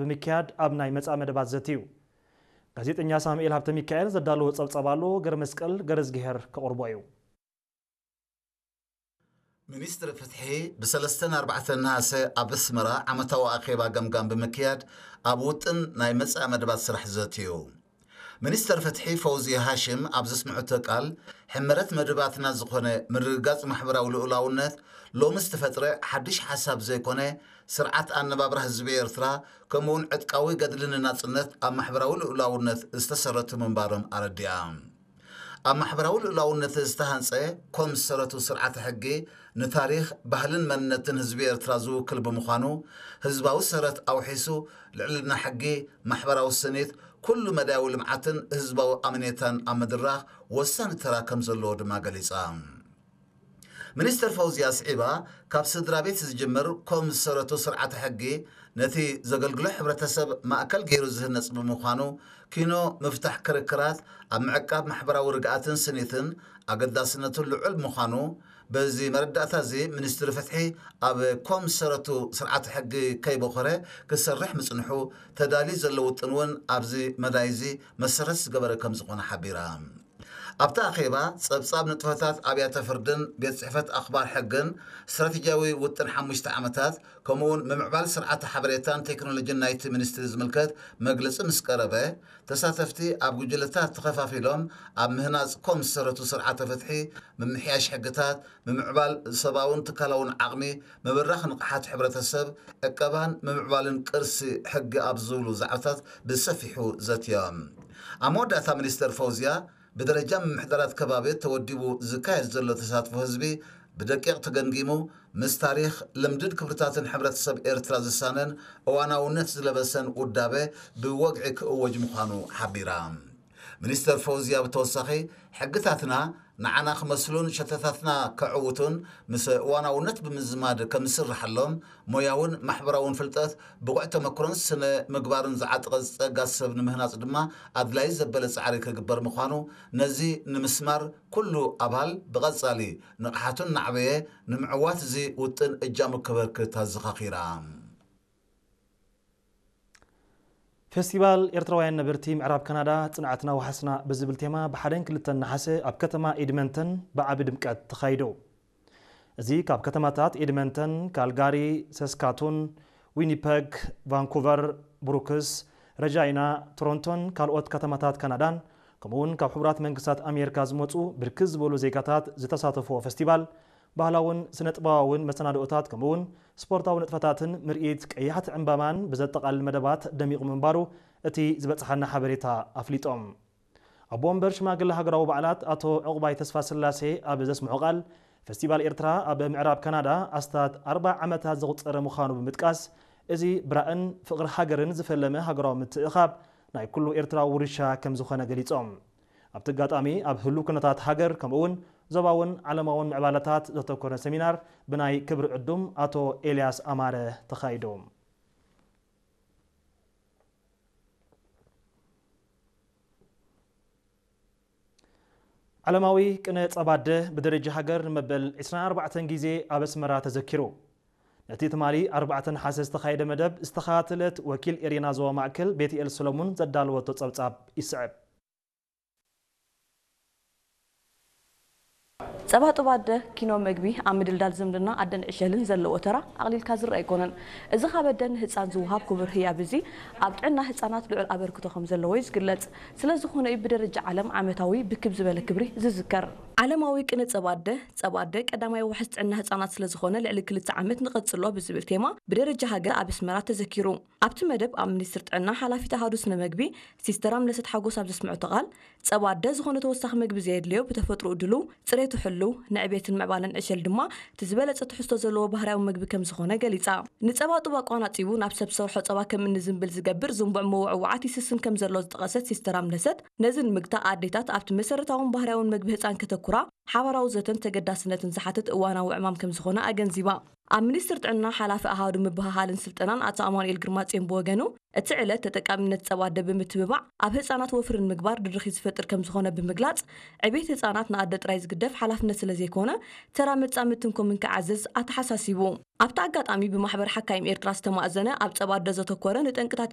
ብምክያድ ኣብ ናይ መጻኢ መደባት ዘትዩ። ጋዜጠኛ ሳሙኤል ሃብተ ሚካኤል ዘዳለዎ ጸብጻብ ኣሎ፣ ገረ መስቀል ገረዝግሄር ከቕርቦ እዩ። ሚኒስትሪ ፍትሒ ብሰለስተን ኣርባዕተን ነሃሰ ኣብ ኣስመራ ዓመታዊ ኣኼባ ገምጋም ብምክያድ ኣብ ውጥን ናይ መጻኢ መደባት ስራሕ ዘትዩ። ሚኒስተር ፍትሒ ፈውዝየ ሃሽም ኣብ ዘስምዐቶ ቃል፣ ሕመረት መደባትና ዝኾነ ምርግጋጽ ማሕበራዊ ልኡላውነት ሎሚ ዝተፈጥረ ሓድሽ ሓሳብ ዘይኮነ፣ ስርዓት ኣነባብራ ህዝቢ ኤርትራ ከምኡውን ዕጥቃዊ ገድሊ ንናጽነት ኣብ ማሕበራዊ ልኡላውነት ዝተሰረቱ ምንባሮም ኣረዲኣ። ኣብ ማሕበራዊ ልኡላውነት ዝተሃንጸ ኮም ዝሰረቱ ስርዓተ ሕጊ ንታሪኽ፣ ባህልን መንነትን ህዝቢ ኤርትራ ዝውክል ብምዃኑ፣ ህዝባዊ ሰረት ኣውሒሱ ልዕልና ሕጊ፣ ማሕበራዊ ስኒት፣ ኩሉ መዳያዊ ልምዓትን ህዝባዊ ኣመኔታን ኣብ ምድራኽ ወሳኒ ተራ ከም ዘለዎ ድማ ገሊጻ። ሚኒስተር ፈውዝያ ኣስዒባ፣ ካብ ስድራ ቤት ዝጅምር ኮም ዝሰረቱ ስርዓተ ሕጊ ነቲ ዘገልግሎ ሕብረተሰብ ማእከል ገይሩ ዝህነጽ ብምዃኑ፣ ኪኖ ምፍታሕ ክርክራት ኣብ ምዕቃብ ማሕበራዊ ርግኣትን ስኒትን ኣገዳስነቱ ልዑል ምዃኑ፣ በዚ መረዳእታ እዚ ሚኒስትሪ ፍትሒ ኣብ ኮም ዝሰረቱ ስርዓተ ሕጊ ከይበኾረ ክሰርሕ ምጽንሑ፣ ተዳልዩ ዘሎ ውጥን እውን ኣብዚ መዳይ እዚ መሰረት ዝገበረ ከም ዝኾነ ሓቢራ። ኣብቲ ኣኼባ፣ ጸብጻብ ንጥፈታት ኣብያተ ፍርድን ቤት ጽሕፈት ኣኽባር ሕግን፣ ስትራቴጂያዊ ውጥን ሓሙሽተ ዓመታት፣ ከምኡውን ምምዕባል ስርዓተ ሓበሬታን ቴክኖሎጂን ናይቲ ሚኒስትሪ ዝምልከት መግለጺ ምስ ቀረበ፣ ተሳተፍቲ ኣብ ጉጅለታት ተኸፋፊሎም ኣብ ምህናጽ ኮም ዝሰረቱ ስርዓተ ፍትሒ፣ ምምሕያሽ ሕግታት፣ ምምዕባል ሰባውን ትካላውን ዓቕሚ፣ ምብራኽ ንቕሓት ሕብረተሰብ፣ ዕቀባን ምምዕባልን ቅርሲ ሕጊ ኣብ ዝብሉ ዛዕባታት ብሰፊሑ ዘትዮም። ኣብ መወዳእታ ሚኒስተር ፈውዝያ፣ ብደረጃ ምምሕዳራት ከባቢ ተወዲቡ ዝካየድ ዘሎ ተሳትፎ ህዝቢ ብደቂቕ ተገምጊሙ፣ ምስ ታሪኽ፣ ልምድን ክብርታትን ሕብረተሰብ ኤርትራ ዝሳነን እዋናውነት ዝለበሰን ውዳበ ብወግዒ ክእወጅ ምዃኑ ሓቢራ። ሚኒስተር ፈውዝያ ብተወሳኺ፣ ሕግታትና ንዓና ክመስሉን ሸተታትና ከዕውቱን ምስ እዋናውነት ብምዝማድ ከም ዝስርሓሎም፣ ሞያውን ማሕበራውን ፍልጠት፣ ብቑዕ ተመክሮን ስነ ምግባርን ዝዓጠቐ ጸጋ ሰብ ንምህናጽ ድማ ኣድላዪ ዘበለ ጻዕሪ ክግበር ምዃኑ፣ ነዚ ንምስማር ኩሉ ኣባል ብቐጻሊ ንቕሓቱ እናዕበየ ንምዕዋት እዚ ውጥን እጃሙ ከበርክት ኣዘኻኺራ። ፌስቲቫል ኤርትራውያን ነበርቲ ምዕራብ ካናዳ ጽንዓትና ወሓስና ብዝብል ቴማ ብሓደን ክልተን ነሓሰ ኣብ ከተማ ኤድመንተን ብዓቢ ድምቀት ተኻይዱ። እዚ ካብ ከተማታት ኤድመንተን፣ ካልጋሪ፣ ሰስካቱን፣ ዊኒፐግ፣ ቫንኩቨር፣ ብሩክስ፣ ረጃይና፣ ቶሮንቶን ካልኦት ከተማታት ካናዳን ከምኡውን ካብ ሕቡራት መንግስታት ኣሜሪካ ዝመጹ ብርክት ዝበሉ ዜጋታት ዝተሳተፍዎ ፌስቲቫል፣ ባህላውን ስነ ጥበባውን መሰናድኦታት ከምኡውን ስፖርታዊ ንጥፈታትን ምርኢት ቀያሕቲ ዕምባባን ብዘጠቓልል መደባት ደሚቑ ምንባሩ እቲ ዝበጽሓና ሓበሬታ ኣፍሊጦም። ኣቦ ወንበር ሽማግለ ሃገራዊ በዓላት ኣቶ ዕቑባይ ተስፋስላሴ ኣብ ዘስምዖ ቃል፣ ፌስቲቫል ኤርትራ ኣብ ምዕራብ ካናዳ ኣስታት ኣርብዓ ዓመታት ዘቑጸረ ምዃኑ ብምጥቃስ፣ እዚ ብራእን ፍቕሪ ሃገርን ዝፈለመ ሃገራዊ ምትእኻብ ናይ ኩሉ ኤርትራዊ ውርሻ ከም ዝኾነ ገሊጾም። ኣብቲ ኣጋጣሚ ኣብ ህሉው ኩነታት ሃገር ከምኡውን ዞባውን ዓለማውን ምዕባለታት ዘተኮረ ሰሚናር ብናይ ክብሪ ዕዱም ኣቶ ኤልያስ ኣማረ ተኻይዱ። ዓለማዊ ቅነ ጸባደ ብደረጃ ሃገር ንመበል ዕስራን ኣርባዕተን ግዜ ኣብ ኣስመራ ተዘኪሩ። ነቲ ትማሊ ኣርባዕተ ነሓሰ ዝተኻየደ መደብ ዝተኸታተለት ወኪል ኤሬና ዞባ ማእከል ቤትኤል ሰሎሙን ዘዳለወቶ ጸብጻብ ይስዕብ። ጸባጥብ ኣደ ኪኖ መግቢ ኣብ ምድልዳል ዝምድና ኣደን ዕሸልን ዘለዎ ተራ ኣቕሊልካ ዝረኣ ኣይኮነን። እዚ ካብ ኣደ ንህጻን ዝወሃብ ክቡር ህያብ እዚ ኣብ ጥዕና ህጻናት ልዑል ኣበርክቶ ከም ዘለዎ እዩ ዝግለጽ። ስለ ዝኾነ እዩ ብደረጃ ዓለም ዓመታዊ ብክብ ዝበለ ክብሪ ዝዝከር። ዓለማዊ ቅነ ጸባ ኣደ፣ ጸባ ኣደ ቀዳማይ ዋሕስ ጥዕና ህጻናት ስለ ዝኾነ ልዕሊ ክልተ ዓመት ንቐጽሎ ብዝብል ቴማ ብደረጃ ሃገር ኣብ ኣስመራ ተዘኪሩ። ኣብቲ መደብ ኣብ ሚኒስትር ጥዕና ሓላፊት ኣሃዱ ስነ መግቢ ሲስተር ኣምለሰት ሓጎስ ኣብ ዘስምዐቶ ቃል፣ ጸባ ኣደ ዝኾነ ተወሳኺ መግቢ ዘየድልዮ ብተፈጥሮኡ ድሉው፣ ጽሬቱ ሕሉው፣ ንዕቤትን ምዕባለን ዕሸል ድማ እቲ ዝበለጸ ትሕዝቶ ዘለዎ ባህርያዊ መግቢ ከም ዝኾነ ገሊጻ። ንጸባ ጡብ ኣቋናጺቡ ናብ ሰብ ዝሰርሖ ጸባ ከም እንዝንብል ዝገብር ዝንቡዕ ምውዕዋዓት ይስስን ከም ዘሎ ዝጠቐሰት ሲስተር ኣምለሰት፣ ነዚ ንምግታእ ኣዴታት ኣብቲ መሰረታውን ባህርያውን መግቢ ህጻን ከተኩራ ሓባራዊ ዘተን ተገዳስነትን ዝሓትት እዋናዊ ዕማም ከም ዝኾነ ኣገንዚባ። ኣብ ሚኒስትር ጥዕና ሓላፊ ኣሃዱ ምብህሃልን ስልጠናን ኣቶ ኣማኑኤል ግርማጽዮን ብወገኑ፣ እቲ ዕለት ተጠቃሚነት ጸባ ኣደ ብምትብባዕ ኣብ ህጻናት ወፍሪ ንምግባር ድርኺት ዝፈጥር ከም ዝኾነ ብምግላጽ፣ ዕቤት ህጻናት ንኣደ ጥራይ ዝግደፍ ሓላፍነት ስለ ዘይኮነ፣ ተራ መጻምድትን ኮምን ክዓዝዝ ኣተሓሳሲቡ። ኣብቲ ኣጋጣሚ ብማሕበር ሓካይም ኤርትራ ዝተማእዘነ ኣብ ጸባ ኣደ ዘተኮረ ንጠንቅታት